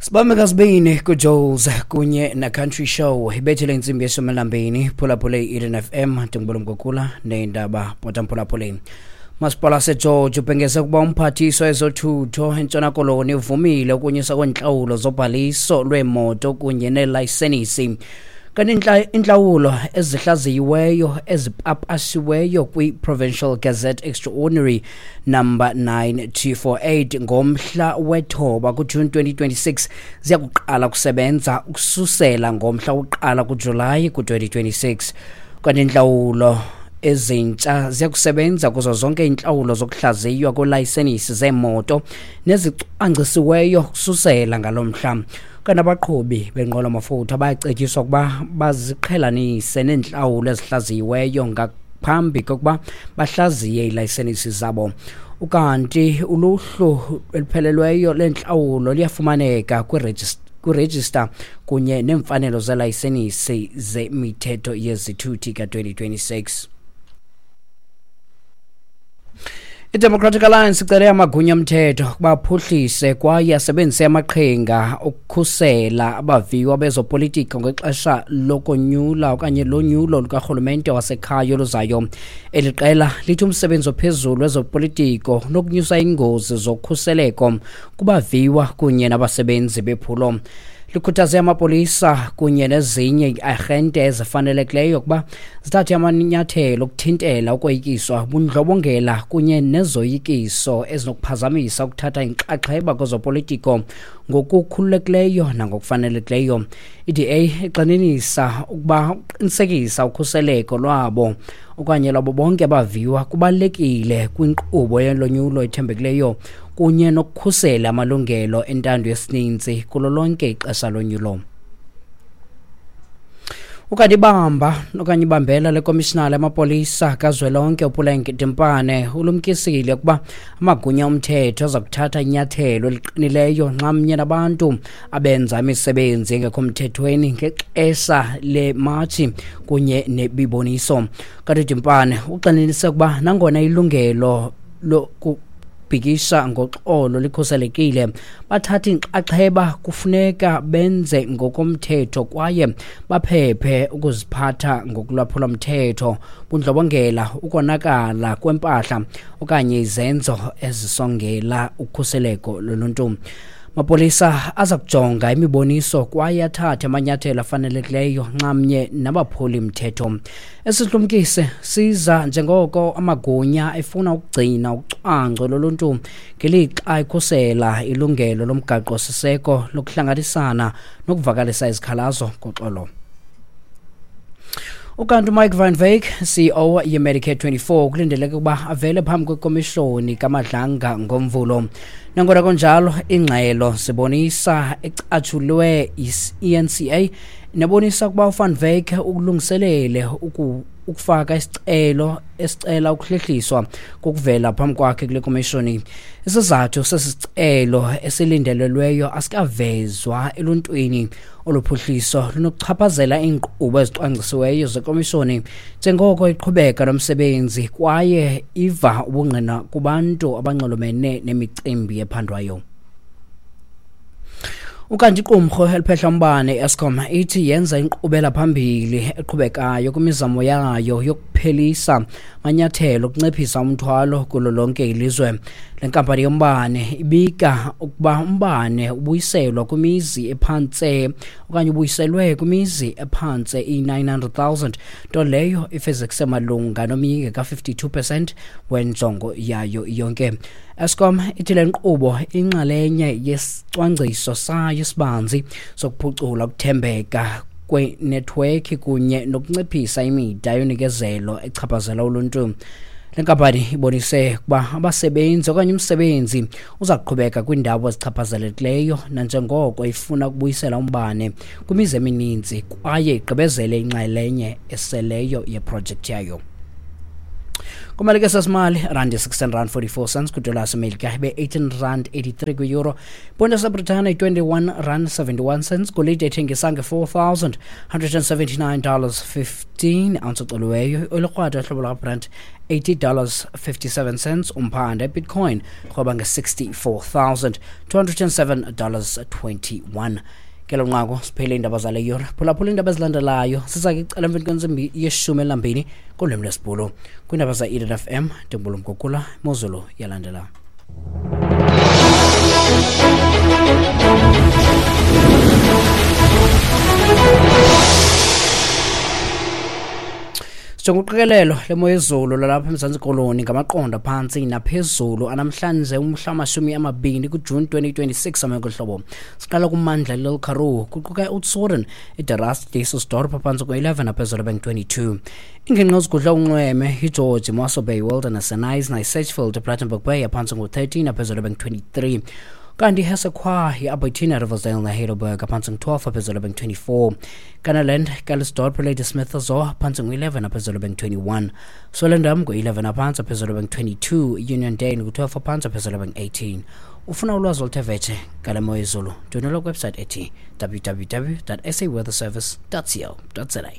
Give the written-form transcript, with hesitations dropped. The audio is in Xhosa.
Sibambe kasibini kuJoles kunye na-Country Show ibethele intsimbi yeshumi elambini. Phulaphule i-Eden FM, ndingubolo Mgugula neendaba bhota mphulaphuleni. Masipala waseGeorge ubhengeze ukuba umphathiswa wezothutho eNtshona Koloni uvumile ukunyuswa kweentlawulo zobhaliso lweemoto kunye neelayisenisi. Kanti intlawulo ezihlaziyiweyo ezipapashiweyo kwi-Provincial Gazette Extraordinary number 9248 ngomhla wethoba kuJuni 2026 ziya kuqala kusebenza ukususela ngomhla wokuqala kuJulayi ku-2026. Kanti intlawulo ezintsha ziya kusebenza kuzo zonke iintlawulo zokuhlaziywa kweelayisenisi zeemoto nezicwangcisiweyo kususela ngalo mhla. Kanti abaqhubi benqwelo-mafutha bayacetyiswa ukuba baziqhelanise neentlawulo ezihlaziyiweyo ngaphambi kokuba bahlaziye iilayisenisi zabo. Ukanti uluhlu eluphelelweyo leentlawulo luyafumaneka kwirejista kunye neemfanelo zelayisenisi zemithetho yezithuthi ka-2026. I-Democratic Alliance icele amagunya omthetho ukuba aphuhlise kwaye asebenzise amaqhinga okukhusela abaviwa bezopolitiko ngexesha lokonyula okanye lonyulo lukarhulumente wasekhaya oluzayo. Eli qela lithi umsebenzi ophezulu wezopolitiko unokunyusa iingozi zokhuseleko kubaviwa kunye nabasebenzi bephulo. Likhuthaze amapolisa kunye nezinye iiarhente ezifanelekileyo ukuba zithathe amanyathelo okuthintela ukoyikiswa, bundlobongela kunye nezoyikiso ezinokuphazamisa ukuthatha inxaxheba kwezopolitiko ngokukhululekileyo nangokufanelekileyo. I-DA igxininisa ukuba ukuqinisekisa ukhuseleko lwabo okanye lwabo bonke abaviwa kubalulekile kwinkqubo yolonyulo ethembekileyo kunye nokukhusela amalungelo entando yesininzi kulo lonke ixesha lonyulo. Ukanti ibamba okanye ibambela lekomishinala yamapolisa kazwelonke uPuleng Dimpane ulumkisile ukuba amagunya omthetho aza kuthatha inyathelo eliqinileyo nxamnye nabantu abenza imisebenzi engekho mthethweni ngexesha lematshi kunye nebiboniso. Kanti uDimpane uxelenise ukuba nangona ilungelo lokubhikisha ngoxolo likhuselekile, bathatha inxaxheba kufuneka benze ngokomthetho kwaye baphephe ukuziphatha ngokulwaphula mthetho, bundlobongela, ukonakala kwempahla okanye izenzo ezisongela ukhuseleko loluntu. Mapolisa aza kujonga imiboniso kwaye athathe amanyathelo afanelekileyo nxamnye nabaphuli mthetho. Esihlumkise siza njengoko amagunya efuna ukugcina ucwangco loluntu ngelixa ekhusela ilungelo lomgaqo-siseko lokuhlanganisana nokuvakalisa izikhalazo ngoxolo. Ukanti uMike Van Wyk, CEO yeMedicare 24, kulindeleke ukuba avele phambi kwekomishoni kaMadlanga ngoMvulo. Nangona kunjalo, ingxelo zibonisa ecatshulwe yi-ENCA nebonisa ukuba uVan Wyk ukulungiselele ukufaka isicelo esicela ukuhlehliswa kokuvela phambi kwakhe kule komishoni. Isizathu sesicelo esilindelelweyo asikavezwa eluntwini. Olu phuhliso lunokuchaphazela iinkqubo ezicwangcisiweyo zekomishoni njengoko iqhubeka nomsebenzi kwaye iva ubungqina kubantu abanxulumene nemicimbi ephandwayo. Ukanti iqumrhu eliphehla umbane iEskom ithi yenza inkqubela phambili eqhubekayo kwimizamo yayo yokuphelisa amanyathelo okunciphisa umthwalo kulo lonke ilizwe. Le nkampani yombane ibika ukuba umbane ubuyiselwa kwimizi ephantse okanye ubuyiselwe kwimizi ephantse i-900,000, nto leyo ifezekise malunga nomyinge ka-52% wenjongo yayo yonke. Eskom ithi le nkqubo inxalenye yesicwangciso sayo esibanzi sokuphucula ukuthembeka kwenethiwekhi kunye nokunciphisa imida yonikezelo echaphazela uluntu. Le nkampani ibonise ukuba abasebenzi okanye umsebenzi uza kuqhubeka kwiindawo ezichaphazelekileyo nanjengoko ifuna ukubuyisela umbane kwimizi emininzi kwaye igqibezele inxalenye eseleyo yeprojekthi yayo. Kumali ke sasimali, rand 16 rand 44 cents kwidola yasemelika, ibe 18 rand 83 kwi-euro. Iponto yaseBritane 21 rand 71 cents. Golide ethengisa nge-$4,179 15 ounce ocoliweyo. Olikrwada hlobo lwabrand $80 57 cents. Umphanda ibitcoin rhoba nge-$64,207 21. Kelo nqaku siphele iindaba zale yure. Phulaphula iindaba ezilandelayo siza ke icala emveni kwentsimbi yeshumi elinambini kolwimi lwesiBhulu. Kwiindaba za-Eden FM, ndingubulumgugula imozulu yalandela. Sijonga uqikelelo lemo yezulu lalapha eMzantsi Koloni ngamaqondo phantsi naphezulu anamhlanje umhla 20 kuJuni 2026. Ameko hlobo siqala kumandla Little Karoo, kuquka iOudtshoorn, iDe Rust, Dysselsdorp, phantsi kwe-11 aphezulu beng-22. Ingingqi ezigudla unxweme iGeorge, Mossel Bay, Wilderness, Knysna, Sedgefield, Plettenberg Bay, aphantsi ngu-13 aphezulu beng-23. Kanti iHessequa, i-Albertina, Riversdale neHeidelberg, aphantsi ngu-12 aphezulu beng-24. Kannaland, Calitzdorp, Ladysmith zo aphantsi ngu-11 aphezulu beng-21. Swellendam ngu-11 aphantsi aphezulu beng-22. Uniondale ngu-12 aphantsi aphezulu beng-18. Ufuna ulwazi oluthe vetshe ngale mo yezulu, ndwendwela kwiwebsite ethi www saweatherservice co za.